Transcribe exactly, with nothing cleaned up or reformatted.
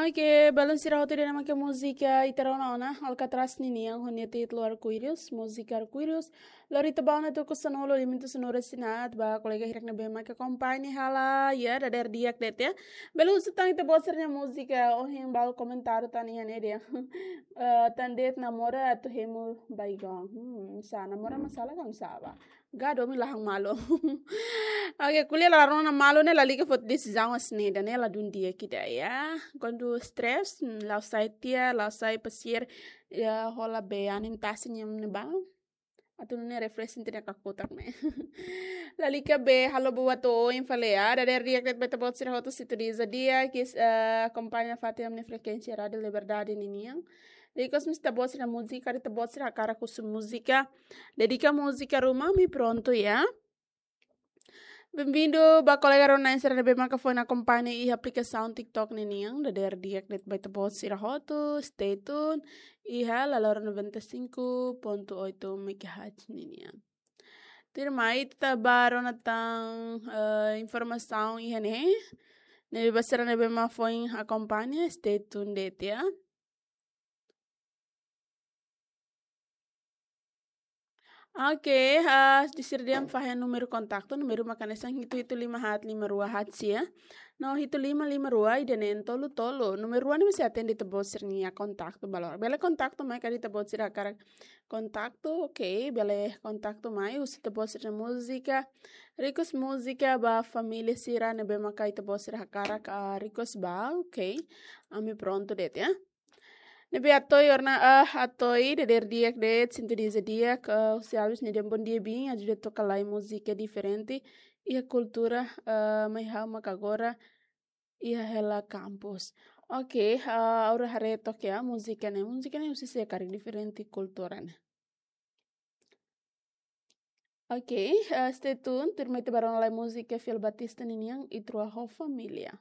Oke, balun sira hotu ida-ne'e mak múzika ita rona ona, Alcatraz ninian, ho nia títulu Arco-Íris, múzika Arco-Íris. Lori ita ba ona tuku sanulu, limitu sanulu resin haat, ba kolega hirak ne'ebé mak akompaña hela, ya, dadeer di'ak de'it ya. Bele husu tan ita-boot sira-nia múzika, ohin balu komentáriu tan iha ne'e dehan. Eh, tan de'it namora atu hemu baigon. Hmm, sá namora masalah kan sá ba. Gado mi lahan malu. Oke, ko'alia la rona malu ne'e lalika foti desizaun hanesan ne'e, ida-ne'e ladún di'ak ida ya. Kuandu stress, hmm, la'o sai tiha, la'o sai pasiar, ya, hola be anin tasi nian ne'ebá. Atu nune'e refreshing tiha nia kakutak ne'e. Lalika be halo buat oin fali ya, dadeer di'ak de'it ba ita-boot sira hotu, sintonia di'ak, kis, eh, akompaña fatin ami-nia frekuénsia Rádio Liberdade ninian. Ikus mós ita-boot sira-nia múzika, ita-boot sira hakarak husu múzika. Dedika múzika ruma, ami prontu ya. Benvindu ba kolega rona sira ne'ebé maka foin akompaña iha aplikasaun TikTok ninian, dadeer di'ak de'it ba ita-boot sira hotu, stay tune, iha Lalora noventa e cinco ponto oito megahertz ninian. Tuirmai ita ba rona tan, eh, informasaun iha ne'e, ne'ebé ba sira ne'ebé mak foin akompaña, stay tune de'it ya. Oke, ah, di sira dehan fahe númeru kontaktu, númeru mak hanesan hitu hitu lima haat lima rua haat sia. No hitu lima lima rua ida neen tolu tolu. Númeru rua ne'e mesti atende ita-boot sira-nia kontaktu ba loron. Bele kontaktu mai karik ita-boot sira hakarak kontaktu, oke, bele kontaktu mai, husu ita-boot sira-nia múzika. Request múzika ba família sira ne'ebé maka ita-boot sira hakarak, ah, request ba, oke. Ami prontu de'it ya. Ne'ebé Atoy orna, ah, Atoy, dadeer di'ak de'it, sintonia di'ak, ah, husi Alves nia dehan bondia biin, ajuda toka lai múzika diferente, iha kultura, ah, mai ha'u mak agora, iha hela kampus. Oke, ah, agora haree took ya, múzika ne'e, múzika ne'e husi sé karik diferente kultura ne'e. Oke, ah, stay tune, tuirmai ita ba rona lai múzika Fiel Batista ninian, Ita Rua ho Família.